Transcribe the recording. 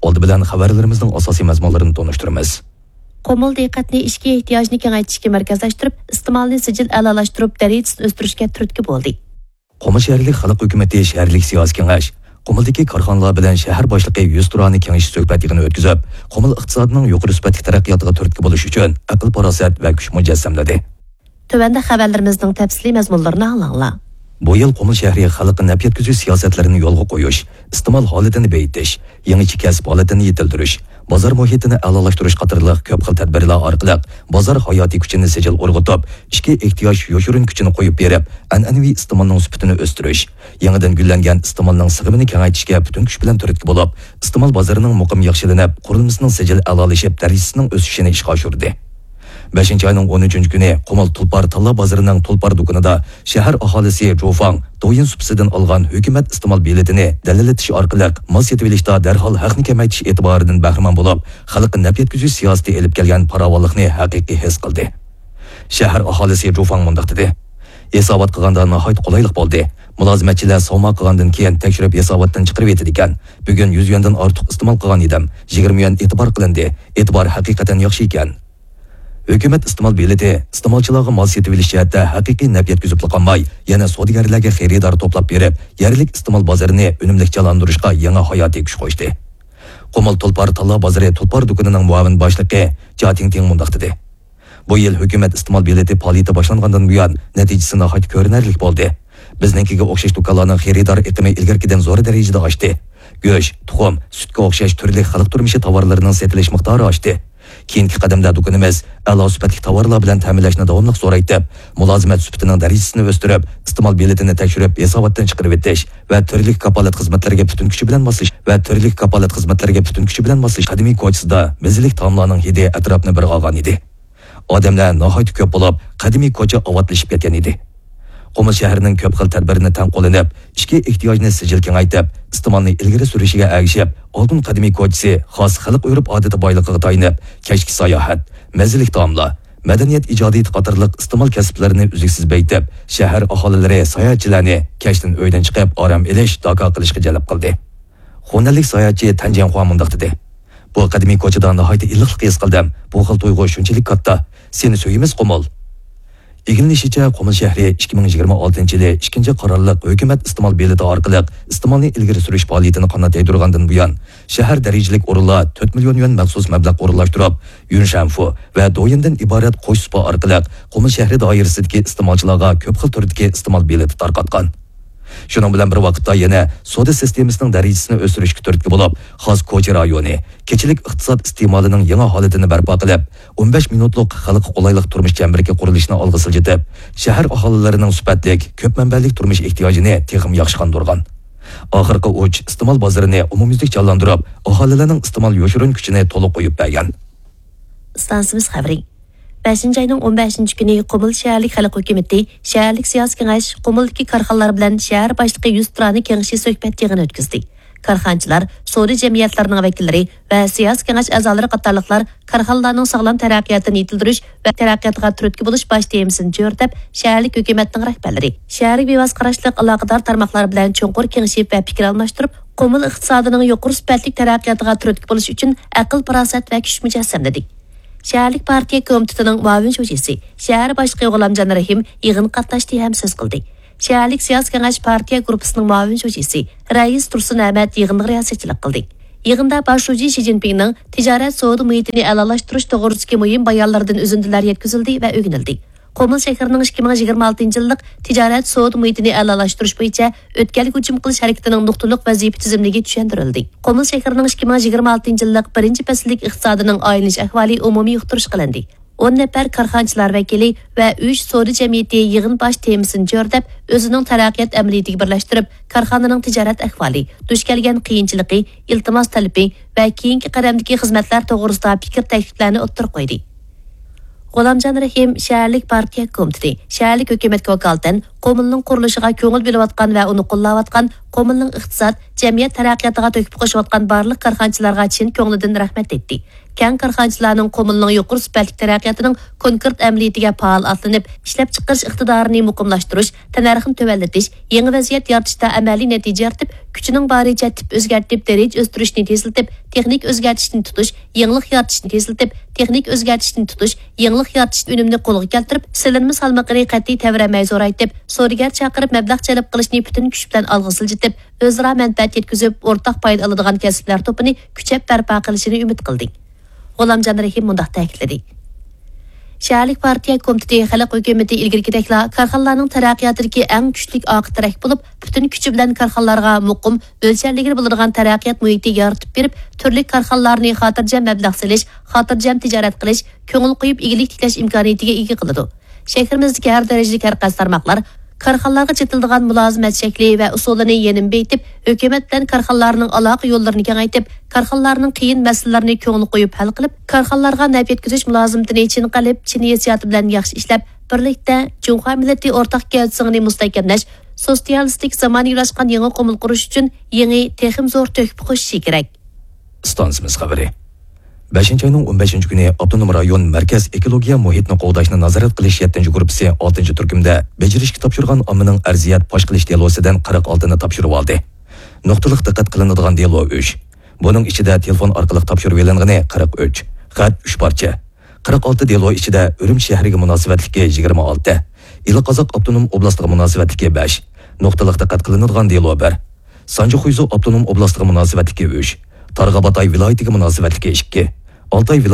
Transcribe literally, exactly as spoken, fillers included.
ئالدى بىلەن خەۋەرلىرىمىزنىڭ ئاساسىي مەزمۇنلىرىنى تونۇشتۇرىمىز. قۇمۇل دىققەتنى ئىچكى ئېھتىياجنى كېڭەيتىشكە مەركەزلەشتۈرۈپ، ئىستېمالنى سىجىل ئەلالاشتۇرۇپ، دەرىجىسىنى ئۆستۈرۈشكە تۈرتكە بولدى. قۇمۇل شەھەرلىك خەلق ھۆكۈمىتى شەھەرلىك سىياسىي كېڭەش قۇمۇلدىكى كارخانىلار بىلەن شەھەر باشلىقى يۈزتۇرانە كېڭىشىش سۆھبەت يىغىنى ئۆتكۈزۈپ، قۇمۇل ئىقتىسادىنىڭ يۇقىرى سۈپەتلىك تەرەققىياتىغا تۈرتكە بولۇش ئۈچۈن ئەقىل-پاراسەت ۋە كۈچ مۇجەسسەملىدى. تۆۋەندە خەۋەرلىرىمىزنىڭ تەپسىلىي مەزمۇنلىرىنى ئاڭلاڭلار. بۇ يىل قۇمۇل شەھىرى خەلققە نەپ يەتكۈزۈش سىياسەتلىرىنى يولغا قويۇش، ئىستېمال ھالىتىنى بېيىتىش، يېڭىچە كەسىپ ھالىتىنى يېتىلدۈرۈش، بازار مۇھىتىنى ئەلالاشتۇرۇش قاتارلىق كۆپ خىل تەدبىرلەر ئارقىلىق بازار ھاياتىي كۈچىنى سىجىل ئۇرغۇتۇپ، ئىچكى ئېھتىياج يوشۇرۇن كۈچىنى قويۇپ بېرىپ، ئەنئەنىۋى ئىستېمالنىڭ سۈپىتىنى ئۆستۈرۈش، يېڭىدىن گۈللەنگەن ئىستېمالنىڭ سىغىمىنى كېڭەيتىشكە پۈتۈن كۈچ بىلەن تۈرتكە بولۇپ، ئىستېمال بازىرىنىڭ مۇقىم ياخشىلىنىپ، قۇرۇلمىسىنىڭ سىجىل ئەلالىشىپ، دەرىجىسىنىڭ ئۆسۈشىنى ئىشقا ئاشۇردى. بەشىنچى ئاينىڭ ئون ئۈچىنچى كۈنى قۇمۇل تۇلپار تاللا بازىرىنىڭ تۇلپار دۇكىنىدا شەھەر ئاھالىسى جۇفاڭ دويىن سۇپىسىدىن ئالغان ھۆكۈمەت ئىستېمال بېلىتىنى دەلىللىتىش ئارقىلىق مال سېتىۋېلىشتا دەرھال ھەقنى كېمەيتىش ئېتىبارىدىن بەھرىمەن بولۇپ، خەلققە نەپ يەتكۈزۈش سىياسىتى ئېلىپ كەلگەن پاراۋانلىقنى ھەقىقىي ھېس قىلدى. شەھەر ئاھالىسى جۇفاڭ مۇنداق دېدى: «ھېسابات قىلغاندا ناھايىتى قولايلىق بولدى. مۇلازىمەتچىلەر سوما قىلغاندىن كېيىن تەكشۈرۈپ ھېساباتتىن چىقىرىۋېتىدىكەن. بۈگۈن يۈز يۈەندىن ئارتۇق ئىستېمال قىلغان ئىدىم. يىگىرمە يۈەن ئېتىبار قىلىندى. ئېتىبار ھەقىقەتەن ياخشى ئىكەن.» ھۆكۈمەت ئىستېمال بېلىتى ئىستېمالچىلارغا مال سېتىۋېلىش جەھەتتە ھەقىقىي نەپ يەتكۈزۈپلا قالماي، يەنە سودىگەرلەرگە خېرىدار توپلاپ بېرىپ، يەرلىك ئىستېمال بازىرىنى ئۈنۈملۈك جانلاندۇرۇشقا يېڭى ھاياتىي كۈچ قوشتى. قۇمۇل تۇلپار تاللا بازىرى تۇلپار دۇكىنىنىڭ مۇئاۋىن باشلىقى جا تىڭتىڭ مۇنداق دېدى: «بۇ يىل ھۆكۈمەت ئىستېمال بېلىتى پائالىيىتى باشلانغاندىن بۇيان، نەتىجىسى ناھايىتى كۆرۈنەرلىك بولدى. بىزنىڭكىگە ئوخشاش دۇكانلارنىڭ خېرىدار ئېقىمى ئىلگىرىكىدىن زور دەرىجىدە ئاشتى. گۆش، تۇخۇم، سۈتكە ئوخشاش تۈرلۈك خەلق تۇرمۇشى تاۋارلىرىنىڭ سېتىلىش مىقدارى ئاشتى. كېيىنكى قەدەمدە دۇكىنىمىز ئەلا سۈپەتلىك تاۋارلار بىلەن تەمىنلەشنى داۋاملىق زورايتىپ، مۇلازىمەت سۈپىتىنىڭ دەرىجىسىنى ئۆستۈرۈپ، ئىستېمال بېلىتىنى تەكشۈرۈپ، ھېساباتتىن چىقىرىۋېتىش ۋە تۈرلۈك كاپالەت خىزمەتلىرىگە پۈتۈن كۈچى بىلەن ماسلىشىش ۋە تۈرلۈك كاپالەت خىزمەتلىرىگە پۈتۈن كۈچى بىلەن ماسلىشىش قەدىمىي كوچىسىدا مەززىلىك تائاملارنىڭ ھىدى ئەتراپنى بىر ئالغان ئىدى. ئادەملەر ناھايىتى كۆپ بولۇپ، قەدىمىي كوچا ئاۋاتلىشىپ كەتكەن ئىدى.» قۇمۇل شەھىرىنىڭ كۆپ خىل تەدبىرىنى تەڭ قوللىنىپ، ئىچكى ئېھتىياجنى سىجىل كېڭەيتىپ، ئىستېمالنى ئىلگىرى سۈرۈشىگە ئەگىشىپ، ئالتۇن قەدىمىي كوچىسى خاس خەلق ئۆرپ-ئادىتى بايلىقىغا تايىنىپ، كەچلىك ساياھەت، مەززىلىك تائاملار، مەدەنىيەت ئىجادىيىتى قاتارلىق ئىستېمال كەسىپلىرىنى ئۈزلۈكسىز بېيىتىپ، شەھەر ئاھالىلىرى ساياھەتچىلەرنى كەچتىن ئۆيدىن چىقىپ ئارام ئېلىش، داكا قىلىشقا جەلپ قىلدى. خۇنەنلىك ساياھەتچى تەن جيەنخۇا مۇنداق دېدى: «بۇ قەدىمىي كوچىدا ناھايىتى ئىللىقلىق ھېس قىلدىم. بۇ خىل تۇيغۇ شۇنچىلىك كاتتا. سېنى سۆيىمىز، قۇمۇل.» ئىگىلىنىشىچە، قۇمۇل شەھىرى ئىككى مىڭ يىگىرمە ئالتىنچى يىلى ئىككىنچى قارارلىق ھۆكۈمەت ئىستېمال بېلىتى ئارقىلىق ئىستېمالنى ئىلگىرى سۈرۈش پائالىيىتىنى قانات يايدۇرغاندىن بۇيان، شەھەر دەرىجىلىك ئورۇنلار تۆت مىليون يۈەن مەخسۇس مەبلەغ ئورۇنلاشتۇرۇپ، يۈنشەنفۇ ۋە دويىندىن ئىبارەت قوش سۇپا ئارقىلىق قۇمۇل شەھىرى دائىرىسىدىكى ئىستېمالچىلارغا كۆپ خىل تۈردىكى ئىستېمال بېلىتى تارقاتقان. شۇنىڭ بىلەن بىر ۋاقىتتا يەنە سودا سىستېمىسىنىڭ دەرىجىسىنى ئۆستۈرۈشكە تۈرتكە بولۇپ، خاس كوچا رايونى، كېچىلىك ئىقتىساد ئىستېمالىنىڭ يېڭى ھالىتىنى بەرپا قىلىپ، ئون بەش مىنۇتلۇق خەلققە قولايلىق تۇرمۇش چەمبىرىكى قۇرۇلۇشىنى ئالغا سىلجىتىپ، شەھەر ئاھالىلىرىنىڭ سۈپەتلىك، كۆپ مەنبەلىك تۇرمۇش ئېھتىياجىنى تېخىمۇ ياخشى قاندۇرغان. ئاخىرقى ئۇچ ئىستېمال بازىرىنى ئومۇميۈزلۈك جانلاندۇرۇپ، ئاھالىلەرنىڭ ئىستېمال يوشۇرۇن كۈچىنى تولۇق قويۇپ بەرگەن. ئىستانسىمىز خەۋىرى. بەشىنچى ئاينىڭ ئون بەشىنچى كۈنى قۇمۇل شەھەرلىك خەلق ھۆكۈمىتى، شەھەرلىك سىياسىي كېڭەش قۇمۇلدىكى كارخانىلار بىلەن شەھەر باشلىقى يۈزتۇرانە كېڭىشىش سۆھبەت يىغىنى ئۆتكۈزدى. كارخانىچىلار، سودا جەمئىيەتلىرىنىڭ ۋەكىللىرى ۋە سىياسىي كېڭەش ئەزالىرى قاتارلىقلار كارخانىلارنىڭ ساغلام تەرەققىياتىنى يېتىلدۈرۈش ۋە تەرەققىياتىغا تۈرتكە بولۇش باش تېمىسىنى چۆرىدەپ، شەھەرلىك ھۆكۈمەتنىڭ رەھبەرلىرى، شەھەرگە بىۋاسىتە قاراشلىق ئالاقىدار تارماقلار بىلەن چوڭقۇر كېڭىشىپ ۋە پىكىر ئالماشتۇرۇپ، قۇمۇل ئىقتىسادىنىڭ يۇقىرى سۈپەتلىك تەرەققىياتىغا تۈرتكە بولۇش ئۈچۈن ئەقىل-پاراسەت ۋە كۈچ مۇجەسسەملىدى. شەھەرلىك پارتىيە كومىتېتىنىڭ مۇئاۋىن شۇجىسى، شەھەر باشلىقى غۇلامجان رەھىم يىغىنغا قاتناشتى ھەم سۆز قىلدى. شەھەرلىك سىياسىي كېڭەش پارتىيە گۇرۇپپىسىنىڭ مۇئاۋىن شۇجىسى رەئىس تۇرسۇن ئەمەت يىغىنغا رىياسەتچىلىك قىلدى. يىغىندا باش شۇجى شى جىنپىڭنىڭ تىجارەت سودا مۇھىتىنى ئەلالاشتۇرۇش توغرىسىدىكى مۇھىم بايانلىرىدىن ئۈزۈندىلەر يەتكۈزۈلدى ۋە ئۆگىنىلدى. قۇمۇل شەھىرىنىڭ ئىككى مىڭ يىگىرمە ئالتىنچى يىللىق تىجارەت سودا مۇھىتىنى ئەلالاشتۇرۇش بويىچە ئۆتكەلگە ھۇجۇم قىلىش ھەرىكىتىنىڭ نۇقتىلىق ۋەزىپە تۈزۈملۈكى چۈشەندۈرۈلدى. قۇمۇل شەھىرىنىڭ ئىككى مىڭ يىگىرمە ئالتىنچى يىللىق بىرىنچى پەسىللىك ئىقتىسادىنىڭ ئايلىنىش ئەھۋالى ئومۇمىي يۇقتۇرۇش قىلىندى. ئون نەپەر كارخانىچىلار ۋەكىلى ۋە ئۈچ سودا جەمئىيىتى يىغىن باش تېمىسىنى چۆرىدەپ، ئۆزىنىڭ تەرەققىيات ئەمەلىيىتىگە بىرلەشتۈرۈپ، كارخانىنىڭ تىجارەت ئەھۋالى، دۇچ كەلگەن قىيىنچىلىقى، ئىلتىماس تەلىپى ۋە كېيىنكى قەدەمدىكى خىزمەتلەر توغرىسىدا پىكىر تەكلىپلەرنى ئوتتۇرىغا قويدى. غۇلامجان رەھىم شەھەرلىك پارتىيە كومىتېتى، شەھەرلىك ھۆكۈمەتكە ۋاكالىتەن، قۇمۇلنىڭ قۇرۇلۇشىغا كۆڭۈل بۆلۈۋاتقان ۋە ئۇنى قوللاۋاتقان، قۇمۇلنىڭ ئىقتىساد، جەمئىيەت تەرەققىياتىغا تۆھپە قوشۇۋاتقان بارلىق كارخانىچىلارغا چىن كۆڭلىدىن رەھمەت ئېيتتى. كەڭ كارخانىچىلارنىڭ قۇمۇلنىڭ يۇقىرى سۈپەتلىك تەرەققىياتىنىڭ كونكرېت ئەمەلىيىتىگە پائال ئاتلىنىپ، ئىشلەپچىقىرىش ئىقتىدارىنى مۇقىملاشتۇرۇش، تەننەرخنى تۆۋەنلىتىش، يېڭى ۋەزىيەت يارىتىشتا ئەمەلىي نەتىجە يارىتىپ، كۈچىنىڭ بارىچە تىپ ئۆزگەرتىپ، دەرىجە ئۆستۈرۈشنى تېزلىتىپ، تېخنىك ئۆزگەرتىشنى تۇتۇش، يېڭىلىق يارىتىشنى تېزلىتىپ، تېخنىك ئۆزگەرتىشنى تۇتۇش، يېڭىلىق يارىتىش ئۈنۈمىنى قولغا كەلتۈرۈپ، سېلىنما سالمىقىنى قەتئىي تەۋرەنمەي زورايتىپ، سودىگەر چاقىرىپ مەبلەغ جەلپ قىلىشنى پۈتۈن كۈچ بىلەن ئالغا سىلجىتىپ، ئۆزئارا مەنپەئەت يەتكۈزۈپ، ئورتاق پايدا ئالىدىغان كەسىپلەر توپىنى كۈچەپ بەرپا قىلىشىنى ئۈمىد قىلدى. غۇلامجان رەھىم مۇنداق تەكىتلىدى: شەھەرلىك پارتىيە كومىتېتى خەلق ھۆكۈمىتى ئىلگىرىكىدەكلا كارخانىلارنىڭ تەرەققىياتىدىكى ئەڭ كۈچلۈك ئارقا تىرەك بولۇپ، پۈتۈن كۈچى بىلەن كارخانىلارغا مۇقىم، ئۆلچەملىگىلى بولىدىغان تەرەققىيات مۇھىتى يارىتىپ بېرىپ، تۈرلۈك كارخانىلارنى خاتىرجەم مەبلەغ سېلىش، خاتىرجەم تىجارەت قىلىش، كۆڭۈل قويۇپ ئىگىلىك تىكلەش ئىمكانىيىتىگە ئىگە قىلىدۇ. شەھىرىمىزدىكى ھەر دەرىجىلىك ھەر قايسى تارماقلار كارخانىلارغا چېتىلىدىغان مۇلازىمەت شەكلى ۋە ئۇسۇلىنى يەنىمۇ بېيىتىپ، ھۆكۈمەت بىلەن كارخانىلارنىڭ ئالاقە يوللىرىنى كېڭەيتىپ، كارخانىلارنىڭ قىيىن مەسىلىلىرىنى كۆڭۈل قويۇپ ھەل قىلىپ، كارخانىلارغا نەپ يەتكۈزۈش مۇلازىمىتىنى چىن قەلب، چىن ھېسسىياتى بىلەن ياخشى ئىشلەپ، بىرلىكتە جۇڭخۇا مىللىتى ئورتاق گەۋدىسىنى مۇستەھكەملەش، سوتسىيالىستىك زامانىۋىلاشقان يېڭى قۇمۇل قۇرۇش ئۈچۈن يېڭى، تېخىمۇ زور تۆھپە قوشۇشى كېرەك. ئىستانسىمىز خەۋىرى. بەشىنچى ئاينىڭ ئون بەشىنچى كۈنى ئاپتونوم رايون مەركەز ئېكولوگىيە مۇھىتنى قوغداشنى نازارەت قىلىش يەتتىنچى گۇرۇپپىسى ئالتىنچى تۈركۈمدە بېجىرىشكە تاپشۇرغان ئاممىنىڭ ئەرزىيەت پاش قىلىش دېلوسىدىن قىرىق ئالتىنى تاپشۇرۇۋالدى. نۇقتىلىق دىققەت قىلىنىدىغان دېلو ئۈچ. بۇنىڭ ئىچىدە تېلېفون ئارقىلىق تاپشۇرۇۋېلىنغىنى قىرىق ئۈچ، خەت ئۈچ پارچە. قىرىق ئالتە دېلو ئىچىدە ئۈرۈمچى شەھىرىگە مۇناسىۋەتلىكى يىگىرمە ئالتە، ئىلى قازاق ئاپتونوم ئوبلاستىغا مۇناسىۋەتلىكى بەش، نۇقتىلىق دىققەت قىلىنىدىغان دېلو بىر، سانجى خۇيزۇ ئاپتونوم ئوبلاستىغا مۇناسىۋەتلىكى ئۈچ، تارغا باتاي ۋىلايىتىگە مۇناسىۋەتلىكى ئىككى، ئالتاي ۋىلايىتى